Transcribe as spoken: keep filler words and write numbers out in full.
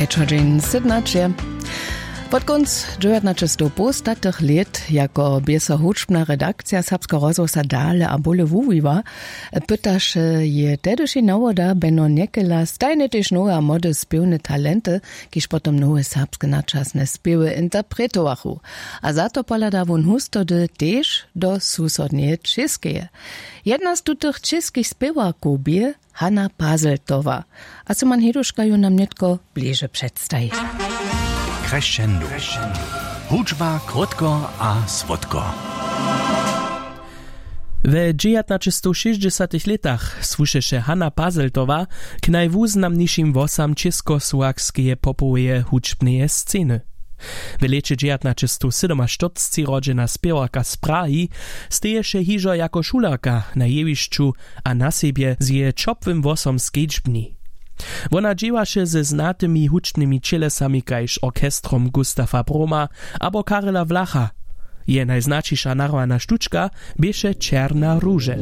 Čodźeń sydnaće. Wot kónc dźewjatnaćestowpołstatych lět jako běso hudźbna redakcija serbskeho rozhłosa dale a bóle wuwiwa, pytaše je tehdyši nawoda beno njekela stajnje tež nowe a młode spěwne talenty, kiž potom nowe serbske načasne spěwy interpretowachu. A za to pohladał wón hustody tež do susodneje čěskeje. Jedna z tutych čěskich spěwarkow bě hanna pazeltowa. A syman heduška ju nam nětko bliže předstaji. Crescendo. Hudźba krótko a słodko. We dźewjatnaćestowšěsćdźesatych lětach słušeše hanna pazeltowa k najwuznamnišim włosam čěskosłowskeje popoweje hudźbneje sceny. W lěće dźewjatnaćestowsydomaštyrcci rodźena spěwarka z prahi steješe hižo jako šulerka na jewišću a na sebje z jeje ćopłym włosom skedźbni. Wona dźěłaše ze znatymi hudźbnymi ćělesami kaž orchestrom gustafa broma abo karela wlacha. Jeje najznaćiša narwana štučka běše černa ruže.